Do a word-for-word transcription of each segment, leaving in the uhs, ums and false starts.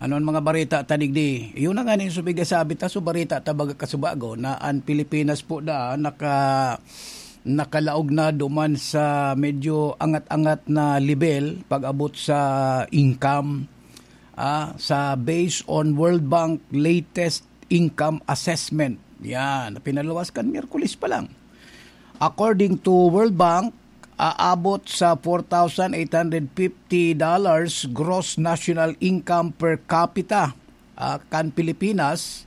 Ano an mga bareta ta digdi? Iyo na nga nin subig sabi ta, so bareta ta baga kasubago na an Pilipinas po da naka-, nakalaog na duman sa medyo angat-angat na level pag-abot sa income, ah, sa based on World Bank latest income assessment. Yan, pinaluwas kan Miyerkules pa lang. According to World Bank, aabot sa four thousand eight hundred fifty dollars gross national income per capita, ah, kan Pilipinas,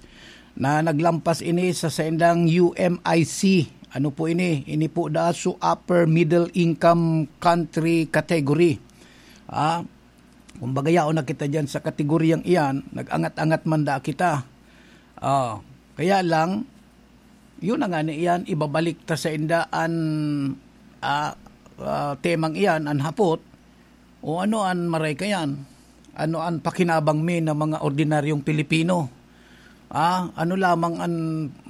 na naglampas ini sa saindang U M I C. Ano po ini? Ini po da su upper middle income country category. Ah, kumbaga, yaon na kita diyan sa kategoryang iyan, nag-angat-angat man da kita. Ah, kaya lang, yun na nga ni iyan, ibabalik ta sa inda an, ah, ah, temang iyan, an hapot, o ano an maray kayan? Ano an pakinabang mi na mga ordinaryong Pilipino? Ah, ano lamang an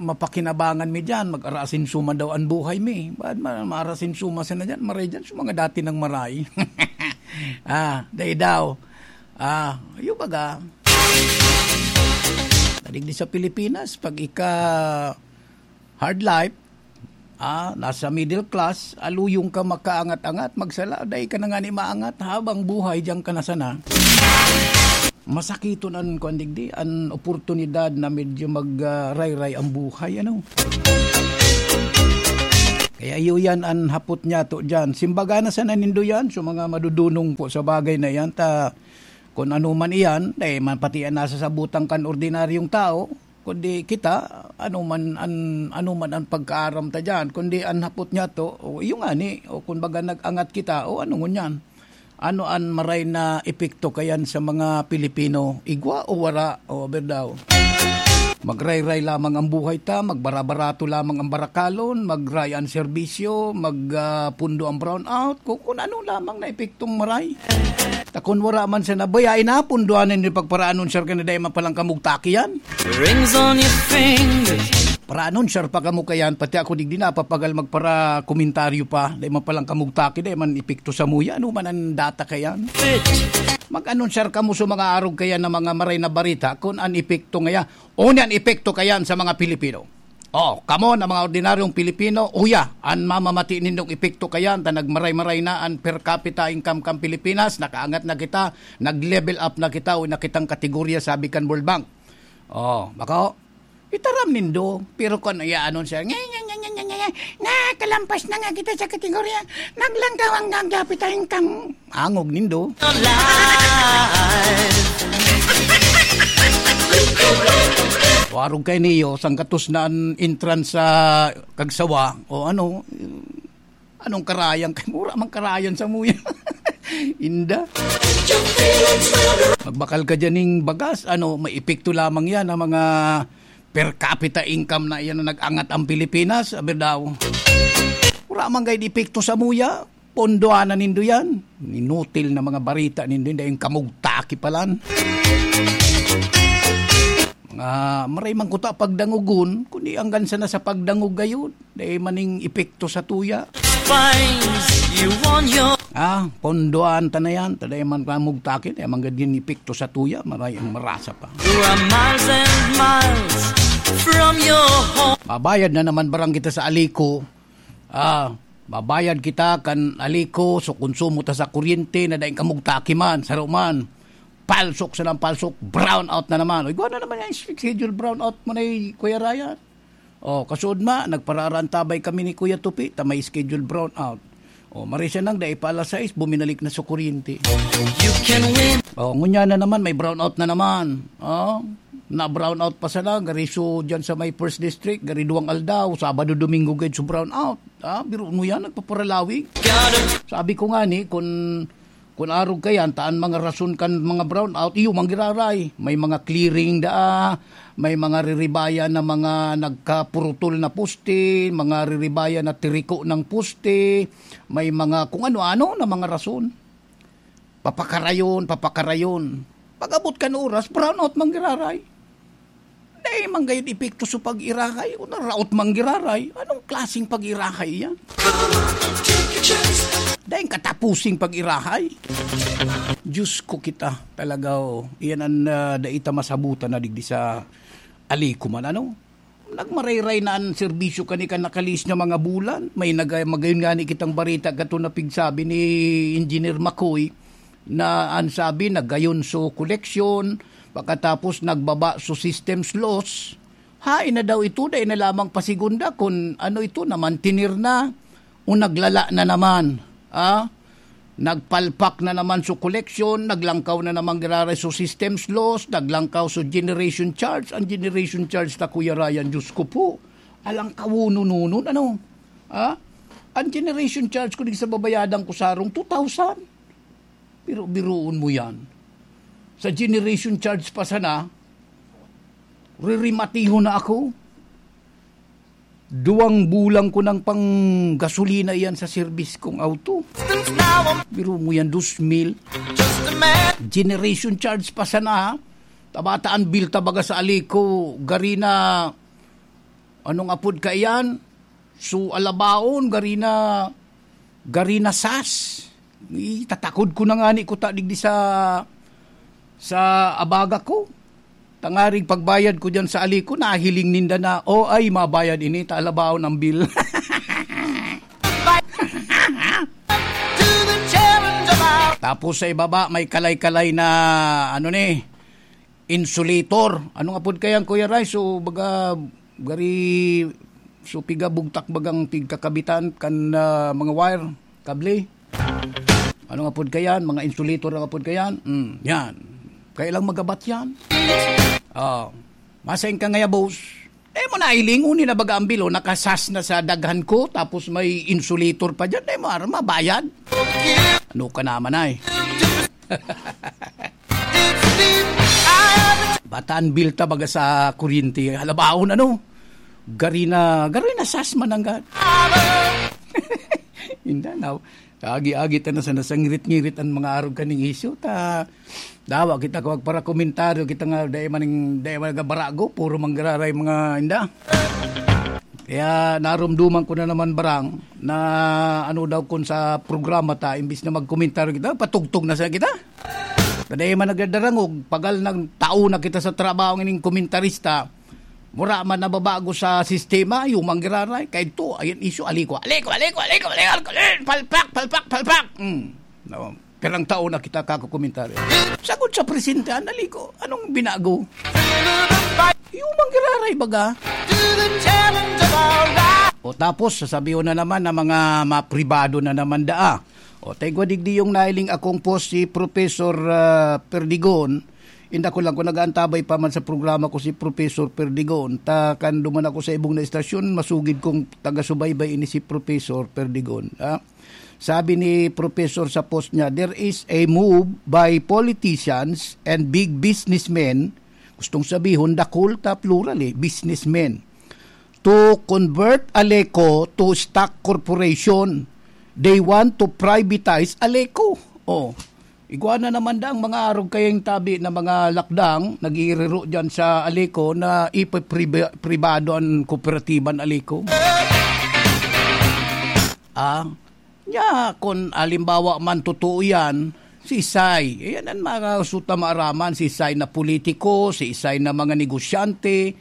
mapakinabangan mi diyan? Mag-arasin suma daw an buhay mi. Baad ma-, maarasin suma sana diyan? Maray diyan, sa mga dati nang maray. Ah, dai daw. Ah, yung baga, Tadig di sa Pilipinas, pag ika hard life, ah, nasa middle class, aluyong ka makaangat-angat, magsala, dai ka na nga ni maangat habang buhay, diyan ka na sana. Masakiton an, kuwan digdi, an oportunidad na medyo mag, ah, rayray ang buhay, ano? Kaya iyo yan an hapot niya to diyan. Simbaga na sana nindo yan, so mga madudunong po sa bagay na yan, ta, kun ano man iyan, dai man pati an nasasabutan kan ordinaryong tao, kundi kita, ano man an, ano man an pagkaaram ta diyan, kundi an hapot niya to, o, iyo ngani, o, kumbaga nag-angat kita, o, ano ngunyan? Ano an maray na epekto kayan sa mga Pilipino? Igwa o wara? O, aber daw. Magrayray lamang ang buhay ta, magbara-barato lamang ang barakalon, magray ang serbisyo, mag, ah, pundo ang brownout, kung, kung ano lamang na epektong maray. Ta kun wara man sa nabaya, inapunduan na ni pagparaanon, sir, ka na dai man palang kamugtaki yan. Rings on your fingers. Paraanon, sir, pa kamo kayan, pati ako digdi napapagal magpara komentaryo pa, dai man palang kamugtaki, dai man epekto sa muya, ano man ang data kayan? Fit. Mag-anon, sir, kamo sa mga arog kayan na mga maray na barita, kung an epekto ngaya, o ni an epekto kayan sa mga Pilipino. Oh, kamo na mga ordinaryong Pilipino, uya, an mamamati nindong epekto kayan, ta nagmaray-maray na an per capita income kan Pilipinas, nakaangat na kita, nag-level up na kita, o na kitang kategorya, sabi kan World Bank. Oh, bako, itaram nindo, pero kun iya anon siya, "Nye, nye, nye, nye, nye, nye, nye, nakalampas na nga kita sa kategorya, naglangkaw ang gagapit ang kang angog nindo." Warog kay niyo, sangkatos na an entrance sa Kagsawa, o ano, anong karayan kay mura mang karayan sa muya. Inda. Magbakal ka dyan ning bagas, ano, may epekto lamang yan ang mga per capita income na yan na nag-angat ang Pilipinas, aber daw. Wala man gayud epekto sa muya, pondoanan nindo yan. Inutil na mga barita nindo, hindi yung kamugtaki palan. Mga maray man kuta pagdangogon, kundi anggan sana sa pagdangog gayud. Dai maning epekto sa tuya. Finds you on your Ah, pondoan ta na yan. Ta dai man kamugtaki, dai man gad epekto sa tuya. Maray ang marasa pa. You are miles and miles from your home. Mabayad na naman barang kita sa Alico. Ah, mabayad kita kan Alico, so konsumo ta sa kuryente na daing kamugtaki man, saro man. Palsok sa lang palsok, brown out na naman. Igwa na naman yung schedule brown out mo na, Kuya Ryan. Oh, kasuod ma, nagpararantabay kami ni Kuya Tupi, ta may schedule brown out. Oh, marisa nang dai pa alas sais, buminalik na sa kuryente. You can win. Oh, ngunya na naman, may brown out na naman. Oh, na brown out pa sana, gari so dyan sa may first district, gari duwang aldaw, Sabado, Domingo, gayud so brown out. Ah, biro mo yan, nagpaparalawig. Got it. Sabi ko nga ni, kung, kung arog ka yan, taan mga rason kan mga brown out, iyo mang giraray. May mga clearing daa, may mga riribayan na mga nagkapurutol na poste, mga riribayan na tiriko ng poste, may mga kung ano-ano na mga rason. Papakarayon, papakarayon. Pag-abot kan oras, brown out mang giraray. Dai man gayud epekto sa pag-irahay, o naraot mang giraray. Anong klaseng pag-irahay yan? Ay, katapusing pag-irahay. Diyos ko kita, talaga, oh. Iyan ang, ah, dai ta masabutan na digdi sa Alico man, ano? Nagmarayray na an serbisyo kani kan nakalihis nga mga bulan. May naga-, magayon ngani kitang bareta kato na pigsabi ni Engineer Makoy na an sabi, nagayon so koleksyon, pakatapos nagbaba so systems loss. Hain na daw ito, dai na lamang pasigunda kun ano ito, namantener na o naglala na naman. Ah? Nagpalpak na naman so koleksyon, naglangkaw na naman giraray so systems loss, naglangkaw so generation charge. Ang generation charge ta, Kuya Ryan, Diyos ko po, alangkawonon-nonon, ano? Ha? Ang generation charge ko, di sa babayadan ko sarong two thousand. Biro-biroon mo yan. Sa generation charge pa sana, ririmatihon na ako. Duwang bulang ko nang panggasolina iyan sa serbis kong auto. Biro mo yan, dos mil. Generation charge pa sana, ha? Tabataan bill ta baga sa Alico, gari na, anong apod kaiyan? So, alabaon, gari na, gari na sas. Itatakod ko na ngani kuta digdi sa, sa abaga ko. Tangarig pagbayad ko diyan sa Alico, nahiling ninda na, "Oh, ay, mabayad ini, ta alabaon ang bill." Tapos sa ibaba, may kalay-kalay na, ano ni, insulator. Anong apod kayan, Kuya Ray? So, baga, gari, so, piga bugtak bagang pigkakabitan kan, ah, mga wire, kable. Anong apod kayan? Mga insulator ang apod kayan? Mm, yan. Kaya lang magabat yan. Oh, masain ka ngaya, boss. Eh, mo nailing, uni na baga ang bilo, nakasas na sa daghan ko, tapos may insulator pa dyan. Eh, mo, mabayad. Ano ka naman ay? Bataan bilta baga sa kuryente. Halabaon, ano? Gari na, gari na sas man ang ga-, Inda, now, agi-agi ta na sa nasangrit-ngirit ang mga arog kaning isyu. Ta, dawa kita ko magparakomentaryo, kita nga, dai man, dai man nagabarago, puro manggararay mga inda. Kaya narumduman ko na naman, barang, na ano daw kun sa programa ta, imbis na magkomentaryo kita, patugtog na sa kita. Kada man nagdadarangog, pagal nang tao na kita sa trabaho ning komentarista, mura man nababago sa sistema, yung manggiraray, kaya ito, ayan isyu, Alico, Alico, Alico, Alico, Alico, Alico, palpak, palpak, palpak. Hmm. No. Pirang taon na kita kakukomentaryo. Sagod sa presente, an Alico, anong binago? Yung manggiraray, baga. O tapos, sasabihin na naman na mga mapribado na naman daa. O, taigwa digdi yung nailing akong post si Professor, ah, Perdigon. Inda ko lang kung nag-aantabay pa man sa programa ko si Professor Perdigon. Ta kan duman ako sa ibong na estasyon, masugid kong taga-subaybay ini si Professor Perdigon. Ah, sabi ni Professor sa post niya, "There is a move by politicians and big businessmen," gustong sabihon, dakul ta plural eh, businessmen, "to convert Aleco to stock corporation. They want to privatize Aleco." Oh, igwa na naman daang mga arog kayang tabi na mga lakdang nagiriro dyan sa Aleco na ipipriba-, pribado ang kooperatiba ng Aleco. Ah, nya, kung alimbawa man totoo yan, si Sai, yan ang mga suta maaraman, si Sai na politiko, si Sai na mga negosyante,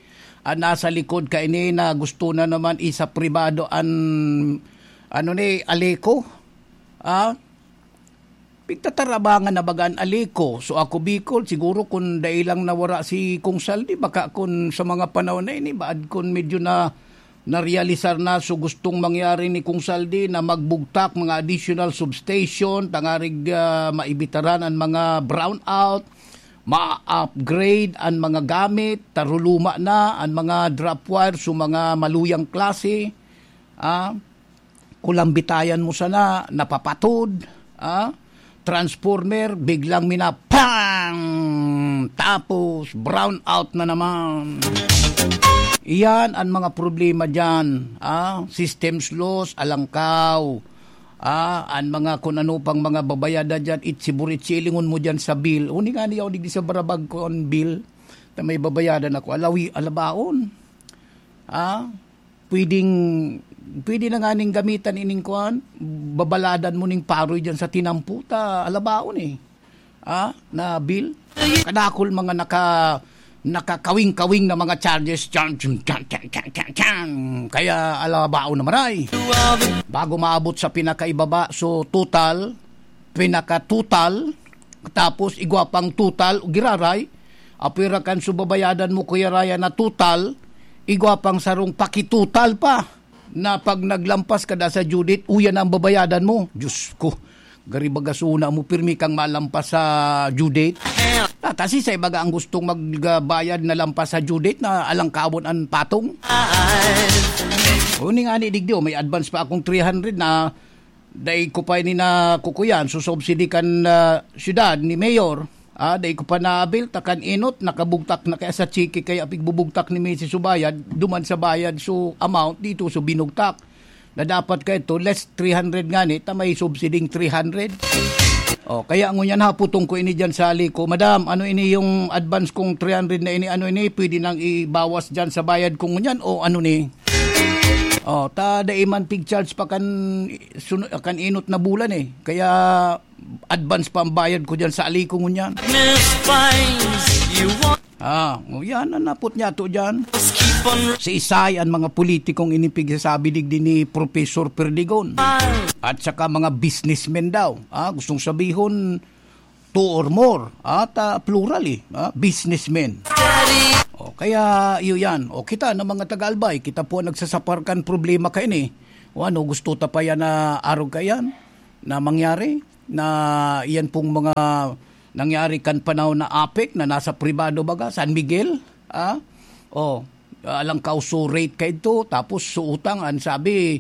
ang nasa likod kaini na gusto na naman isa pribado an, ano ni, Aleco. Ah, pigtatarabangan na baga an Aleco. So, ako, Bicol, siguro kung dai lang nawara si Kong Saldi, baka kung sa mga panahon na ini, baad kung medyo na narealisar na, so gustong mangyari ni Kong Saldi na magbugtak mga additional substation, tangarig, ah, maibitaran ang mga brownout, ma-upgrade ang mga gamit, taruluma na ang mga drop wire, so mga maluyang klase, ah, kulambitayan mo sana, napapatod, ah, transformer, biglang mina-, pang! Tapos, brown out na naman. Iyan ang mga problema dyan, ah, systems loss, alangkaw, ah, ang mga kung ano pang mga babayadan dyan, itsi-buritsi, ilingon mo dyan sa bill. Uni nga niya, digdi sa barabag ko ang bill, na may babayadan ako, alawi, alabaon. Ah, pwedeng Pwede na nga ning gamitan ining kuan, babaladan mo ning paroy dyan sa tinampo, ta alabaon eh. Ah, na bill. Kadakol mga naka, nakakawing-kawing na mga charges. Chan, chan, chan, chan, chan, chan, chan. Kaya alabaon na maray. Bago maabot sa pinakaibaba, so total, pinaka-total, tapos igwa pang total, giraray, apwera kan subabayadan mo, Kuya Ryan, na total, igwa pang sarong pakitotal pa na pag naglampas ka da sa due date, uya na ang babayadan mo. Diyos ko, gari baga suna mo, pirmi kang malampas sa due date. Tatasi sa ibaga ang gustong magbayad na lampas sa due date na alangkawon an patong. Uning ani digdi, oh, may advance pa akong three hundred na dai ko pa ini nakukuyan, susubsidi kan, ah, syudad ni Mayor. Ah, dai ko pa naabil, ta kan inot, nakabugtak na kaya sa tseke, kaya pigbubugtak ni Misis Subayad, duman sa bayad, so amount dito, so binugtak. Na dapat ka ito, less three hundred ngani, ta may subsiding three hundred. Oh, kaya ngunyan haputong ko ini dyan sa Alico, "Madam, ano ini yung advance kong three hundred na ini? Ano ini? Pwede nang ibawas dyan sa bayad ko ngunyan o ano ni?" Oh, ta dai man pig-charge pa kan sunu-, kan inot na bulan eh. Kaya advance pa ang bayad ko dyan sa Alico ngunyan. Miss Fines, you want Ah, o yan ang napot niya to dyan. Keep on Si Isay, ang mga politikong inipigsasabi digdi ni Professor Perdigon. At saka mga businessmen daw. Ah, gustong sabihon, two or more. At, ah, plural eh. Ah, businessmen. O, kaya, iyo yan. O, kita na mga taga-Albay, kita po ang nagsasaparkan problema kaini. O ano, gusto ta pa yan na arog kayan na mangyari? Na iyan pong mga nangyari kan panahon na APEC na nasa pribado baga, San Miguel, ah? O, alang kauso rate ka ito, tapos sa utang, ang sabi,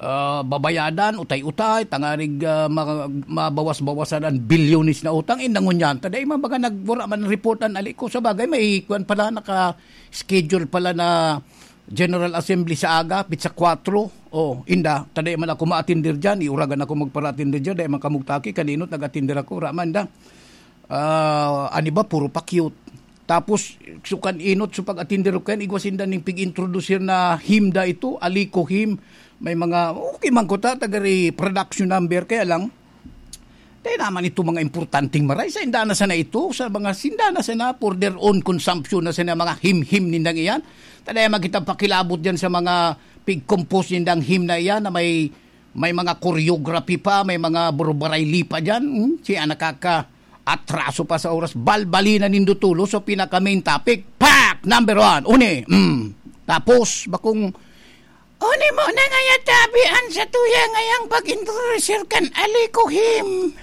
ah, babayadan, utay-utay, tangarig, ah, ma-, mabawas-bawasan ang bilyones na utang, indangon yan. Taday man baga nagwara man report ang Alico. Sa bagay, may kwan pala, naka-schedule pala na General Assembly sa aga, pitsa kwatro. O, inda, taday man ako ma-attender dyan, iuragan ako magpara-attender dyan, dai man kamugtaki, kaninot nag-attender ako, raman da. Ah, ani ba, puro pa cute. Tapos, sukan inot, so pag-attender ko yan, igwa sinda ning pig-introducer na hymn da ito, Alico hymn. May mga, okay man ko ta, tagari production number, kaya lang, dai naman ito mga importanteng maray. Sa inda na sana ito, sa mga sinda na sana, for their own consumption na sana, mga hymn-hymn nindang iyan. Taday man kita pakilabot dyan sa mga pig-compose nindang hymn na iyan na may, may mga choreography pa, may mga burbarayli pa dyan. Hmm? Siya nakaka-atraso pa sa oras. Balbalina nindo tulo sa pinaka-main topic. Pak! Number one. Uni. Mm. Tapos, bakong, "Uni mo na ngaya tabi an satuya ngayang pag-introducer kan Alico hymn."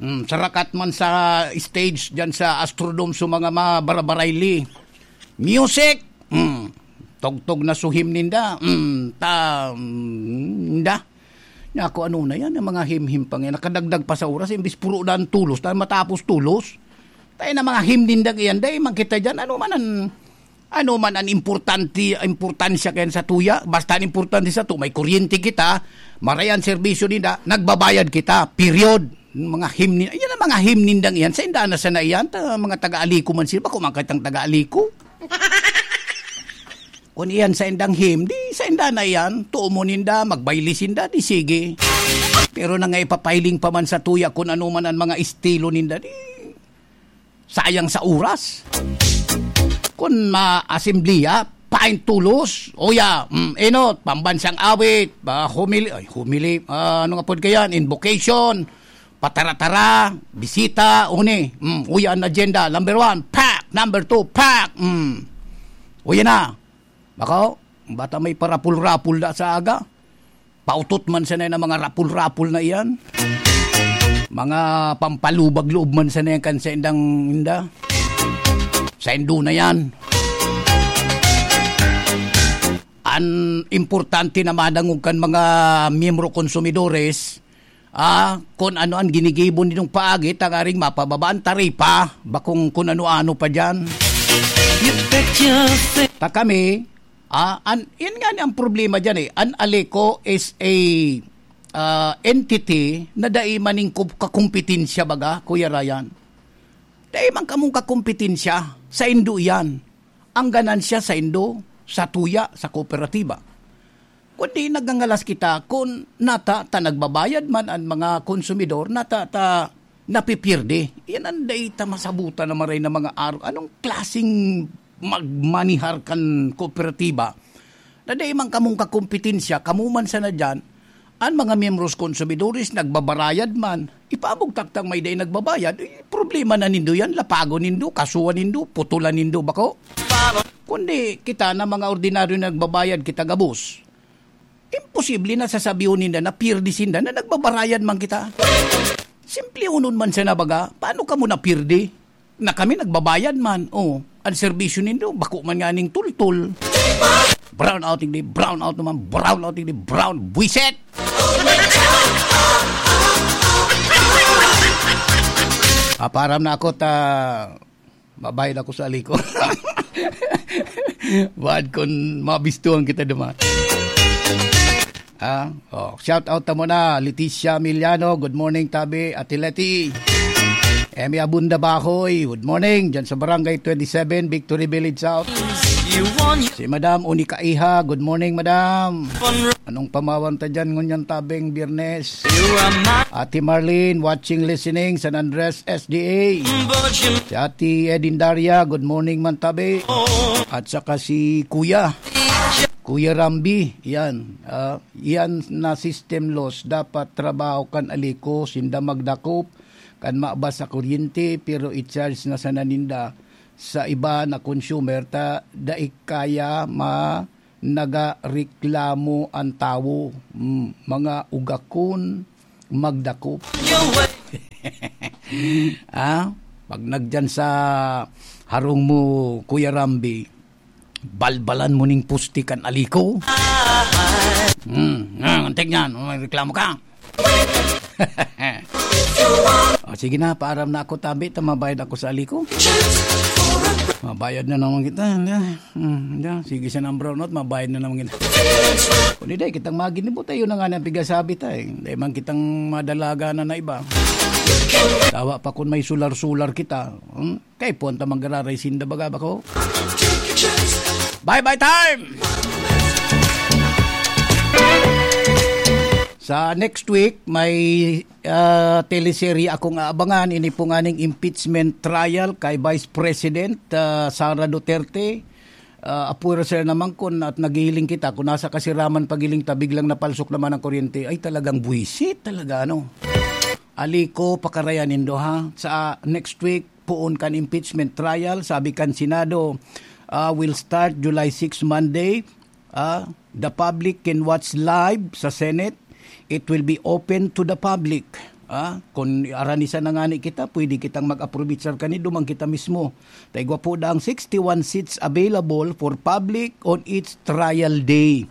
Mm, sarakat man sa stage dyan sa Astrodome sa mga mabarabarayli. Music! Mm, tugtog na suhim ninda. Mm, ta, mm, ninda. Nya ako, ano na yan, ang mga himhim pa nga, nakadagdag pa sa oras, imbis puro na ang tulos, na matapos tulos. Tayo na mga him ninda iyan, dai man kita dyan, ano man ang, ano man ang importante, importansya kayan sa tuya, basta ang importante sa to, may kuryente kita, maray ang serbisyo ninda, nagbabayad kita, period. Mga him ni-, yan ang mga him nindang iyan, sa inda na sana iyan, ta, mga taga-Alico man sila, bako man kitang taga-Alico. Kun iyan sa indang him, di sa inda na iyan. Tuo mo ninda, magbayli sinda, di sige. Pero na nga ipapahiling pa man sa tuya kun ano man ang mga estilo ninda, di sayang sa oras. Kun ma-asembleya, pain tulos, oya, mm, enot, pambansang awit, ah, humili, ay, humili, ah, ano nga pod kayan, invocation, patara-tara, bisita, uni, mm, uya ang agenda, number one, pak, number two, pak, mm. Uya na. Bako, bata may parapul-rapul da sa aga. Pautot man sana na mga rapul-rapul na iyan. Mga pampalubag-loob man sana yan kan sa indang inda. Sa indo na yan. An importante na madangog kan mga miyembro konsumidores, ah, kun ano an ginigibo nindong paagi, tangaring mapababa an taripa, bakong kun ano-ano pa diyan. You bet your face. Ta kami, ah, an, yan nga ni ang problema diyan eh. An Aleco is a, ah, entity na dai man ning kup-, kakumpetensya baga, Kuya Ryan. Dai man kamong kakumpetensya, sa indo iyan. Ang ganansya sa indo, sa tuya, sa kooperatiba. Kundi nagangalas kita kun nata ta nagbabayad man an mga konsumidor, nata ta napipierde. Yan ang dai ta masabutan na maray na mga aro. Anong klaseng magmanihar kan kooperatiba na dai man kamong kakompetensya, kamo man sana diyan, an mga miyembros konsumidores nagbabarayad man. Ipaabog taktang may dai nagbabayad, eh, problema na nindo yan, lapagon nindo, kasuhan nindo, putulan nindo, bako? Kundi kita na mga ordinaryo na nagbabayad, kita gabos. Imposible na sasabihon ninda na pirdi sinda na nagbabarayad man kita. Simple unon man sana baga, paano kamo napirdi? Na kami nagbabayad man. Oh, ang serbisyo nindo, bako man nga ning tultol. Brown out, hindi brown out naman, brown out, hindi brown. Buwisit! Aparam na ako ta mabayad ako sa aliko. Bad kun mabistuhan kita duma. Ah, oh, shout out ta muna, Leticia Miliano. Good morning, tabi, Ate Leti. Emmy Abunda Bahoy, good morning. Diyan sa Barangay twenty-seven, Victory Village South. Si Madam Unica Iha, good morning, Madam. Anong pamawan ta dyan ngunyan tabing Biyernes? Ate Marlene, watching, listening, San Andres, S D A. Si Ate Edin Daria, good morning man tabi. At saka si Kuya. Kuya Rambi, yan. Ah, yan na system loss. Dapat trabaho kan aliko, sinda magdakop, kan mabas sa kuryente, pero i-charge na sana ninda sa iba na consumer, ta dai kaya ma-, nagareklamo an tawo. Mm, mga ugakon, magdakop. Ah, pag nagdiyan sa harong mo, Kuya Rambi, balbalan mo ning pusti kan aliko. Hmm, ah, antik niyan, may reklamo ka. O, sige na, paaram na ako, tabi, ta mabayad ako sa aliko. Mabayad na naman kita, hindi. Hmm, hindi. Sige siya ng brownout, mabayad na naman kita. Kung hindi, kitang maginibo tayo na nga ng pigasabi tayo. Hindi man kitang madalaga na na iba. Tawa pa kung may sular-sular kita. Hmm? Kay puwan ta manggararay sinda baga bako. Bye-bye time! Sa next week, may, ah, teleserye akong aabangan. Ini po nga ning impeachment trial kay Vice President, ah, Sara Duterte. Ah, apwera sila naman kun at naghihiling kita, kung nasa kasiraman pagiling ta, biglang napalsok naman ang kuryente. Ay, talagang buwisit talaga, ano. Aliko, pakarayan nindo, ha? Sa next week, poon kan impeachment trial, sabi kan Senado, ah, will start July six, Monday. Ah, the public can watch live sa Senate. It will be open to the public. Ah, kung aranisan na ngani kita, pwede kitang mag-aprovechar kani, duman kita mismo. Ta igwa po daang sixty-one seats available for public on each trial day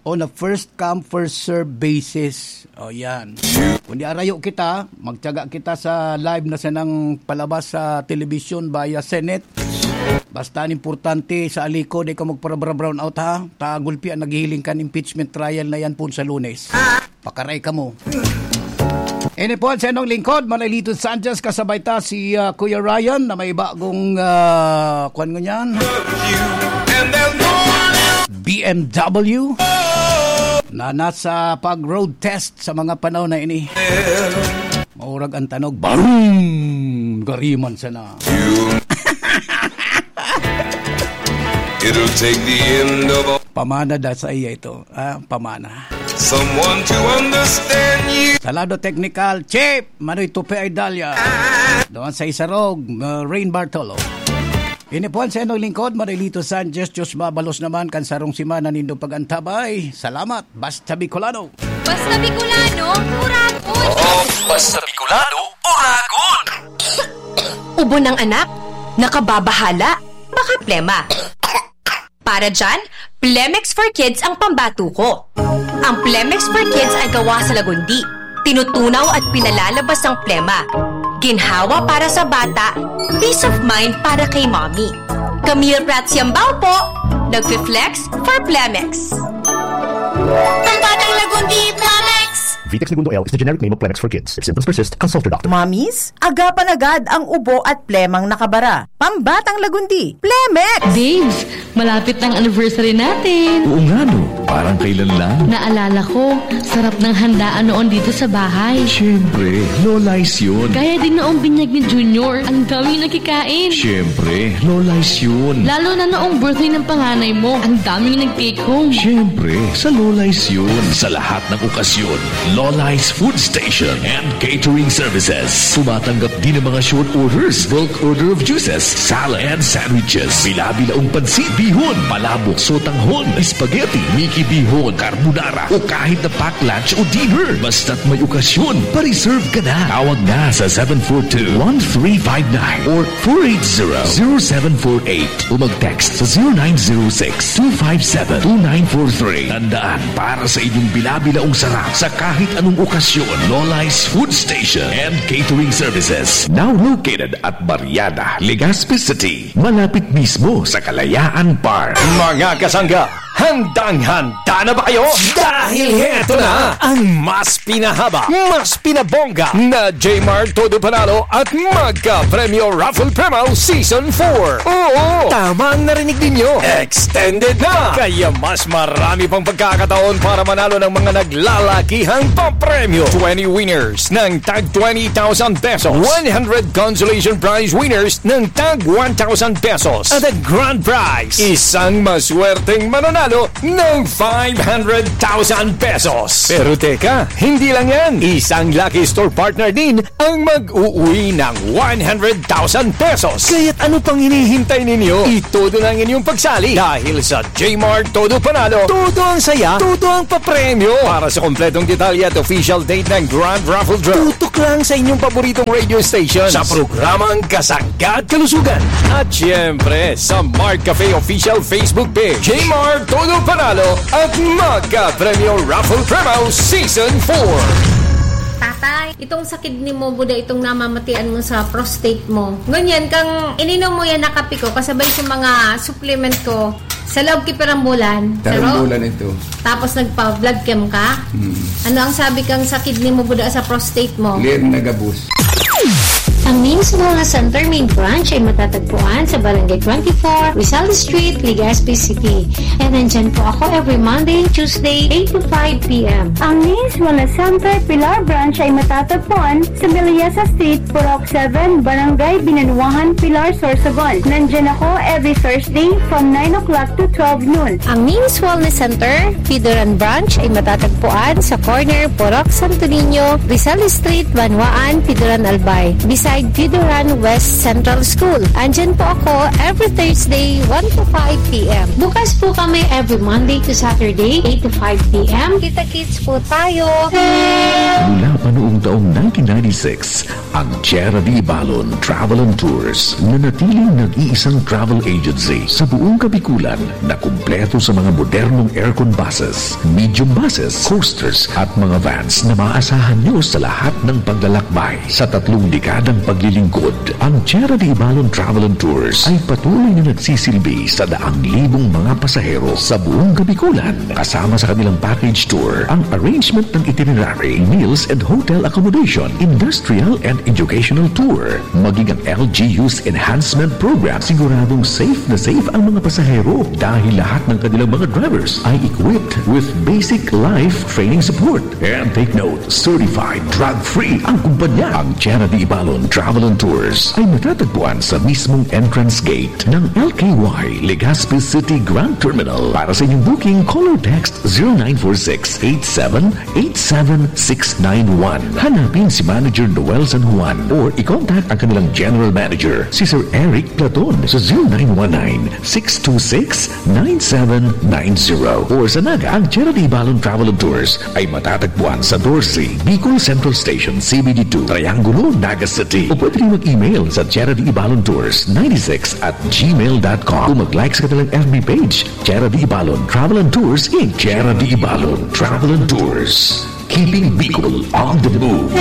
on a first come, first serve basis. O, yan. Kung di arayo kita, magtiyaga kita sa live na sanang palabas sa telebisyon via Senate. Basta an importante sa aliko, di ka magpara-brown out, ha? Ta gulpi an naghihiling kan impeachment trial na yan po sa Lunes. Pakaray kamo. Ini po an sa inyong lingkod, Manolito Sanchez, kasabay ta si, ah, Kuya Ryan na may bagong, ah, kwan ngunyan. B M W na nasa pag-road test sa mga panahon na ini. Maurag ang tanog, barum! Gariman sana. It'll take the end of all. Pamana da sa iya ito. Ah, pamana. Someone to understand you. Sa lado teknikal, Chief Manoy Tupe Aidalia. Doon sa Isarog, uh, Rain Bartolo. Ini po an sa inyong lingkod, Marilito Sanchez. Diyos mabalos naman kan sarong semana nindo pag-antabay. Salamat. Basta Bicolano. Basta Bicolano, Uragon. Oo, basta Bicolano, Uragon. Ubo ng anak, nakababahala, baka plema. Para dyan, Plemex for Kids ang pambato ko. Ang Plemex for Kids ay gawa sa lagundi. Tinutunaw at pinalalabas ang plema. Ginhawa para sa bata, peace of mind para kay mommy. Camille Prats Yambao po, nagfi-flex for Plemex. Pambatang lagundi, Plemex! Vitex Negundo L is the generic name of Plemex for Kids. If symptoms persist, consult your doctor. Mommies, agapan agad ang ubo at plemang nakabara. Pambatang lagundi, Plemex! Babes, malapit na ang anniversary natin. Oo nga, no? Parang kailan lang? Naalala ko, sarap ng handaan noon dito sa bahay. Siyempre, Lola's yun. Kaya din noong binyag ni Junior, ang daming nakikain. Siyempre, Lola's yun. Lalo na noong birthday ng panganay mo, ang daming nag-take home. Siyempre, sa Lola's yun. Sa lahat ng okasyon, Lola's Food Station and Catering Services. Tumatanggap din ng mga short orders, bulk order of juices, salad and sandwiches. Bila-bilaong pansit, bihon, palabok, sotanghon, spaghetti, Mickey bihon, carbonara, o kahit na pack lunch o dinner. Basta't may okasyon, pa-reserve ka na. Tawag na sa seven four two, one three five nine or four eight zero, zero seven four eight o mag-text sa zero nine zero six, two five seven, two nine four three. Tandaan, para sa inyong bila-bilaong sarap sa kahit anong okasyon, Lola's Food Station and Catering Services. Now located at Barriada, Legazpi City, malapit mismo sa Kalayaan Park. Mga kasangga, handang-handa na ba kayo? Dahil heto na ang mas pinahaba, mas pinabongga na Jmar Todo Panalo at Magka Premyo Raffle Promo Season four. Oo, tama ang narinig ninyo. Extended na! Kaya mas marami pang pagkakataon para manalo ng mga naglalakihang papremyo. Twenty winners ng tag twenty thousand pesos. One hundred consolation prize winners ng tag one thousand pesos. At ang grand prize, isang maswerteng mananalo ng five hundred thousand pesos. Pero teka, hindi lang yan. Isang lucky store partner din ang mag-uwi ng one hundred thousand pesos. Kaya't ano pang hinihintay ninyo? Itodo na ang inyong pagsali dahil sa Jmar Todo Panalo, todo ang saya, todo ang papremyo. Para sa kompletong detalye at official date ng Grand Raffle Draw, tutok lang sa inyong paboritong radio station sa programang Kasangga at Kalusugan. At siyempre, sa Mart Cafe Official Facebook Page, Jmar Todo Panalo at Magka Premyo Raffle Promo Season four. Tatay, itong sa kidney mo, buda itong namamatian mo sa prostate mo. Ngunyan, kang ininom mo yan na kape ko, kasabay sa mga supplement ko, sa loob ki pirang bulan. Tarong Pero, bulan ito. Tapos nagpa-blood chem ka? Hmm. Ano ang sabi kang sa kidney mo, buda sa prostate mo? Clear na gabos. Ang Names Wellness Center main branch ay matatagpuan sa Barangay twenty-four, Rizal Street, Legazpi City. And nandyan po ako every Monday and Tuesday, eight to five p.m. Ang Names Wellness Center Pilar Branch ay matatagpuan sa Melissa Street, Purok seven, Barangay Binanuahan, Pilar, Sorsogon. Nandyan ako every Thursday from nine o'clock to twelve noon. Ang Names Wellness Center, Pidoran Branch ay matatagpuan sa corner Purok Santo Niño, Rizal Street, Banwaan, Pidoran, Albay, beside Pidoran West Central School. Andyan po ako every Thursday, one to five p.m. Bukas po kami every Monday to Saturday, eight to five p.m. Kita-kits po tayo! Mula pa noong taong nineteen ninety-six, ang Tierra de Ibalon Travel and Tours, nanatiling nag-iisang travel agency sa buong Kabikulan na kumpleto sa mga modernong aircon buses, medium buses, coasters at mga vans na maaasahan nyo sa lahat ng paglalakbay. Sa tatlong dekadang paglilingkod, ang Tierra de Ibalon Travel and Tours ay patuloy na nagsisilbi sa daang libong mga pasahero sa buong Kabikulan. Kasama sa kanilang package tour ang arrangement ng itinerary, meals and hotel accommodation, industrial and educational tour, maging ang L G U's enhancement program. Siguradong safe na safe ang mga pasahero dahil lahat ng kanilang mga drivers ay equipped with basic life training support. And take note, certified drug-free ang kumpanya. Ang Tierra de Ibalon Travel and Tours ay matatagpuan sa mismong entrance gate ng L K Y Legazpi City Grand Terminal. Para sa inyong booking, call or text zero nine four six eight seven eight seven six nine one. Hanapin si Manager Noel San Juan or i-contact ang kanilang General Manager, si Sir Eric Platon, sa zero nine one nine six two six nine seven nine zero. Or sa Naga, ang Tierra de Ibalon Travel and Tours ay matatagpuan sa doce, Bicol Central Station, C B D two, Triangulo, Naga City. O pwede rin mag-email sa Tierra de Ibalon Tours ninety-six at gmail dot com o mag-like sa kanilang F B page, Tierra de Ibalon Travel and Tours, Inc. Tierra de Ibalon Travel and Tours, keeping Bicol on the move.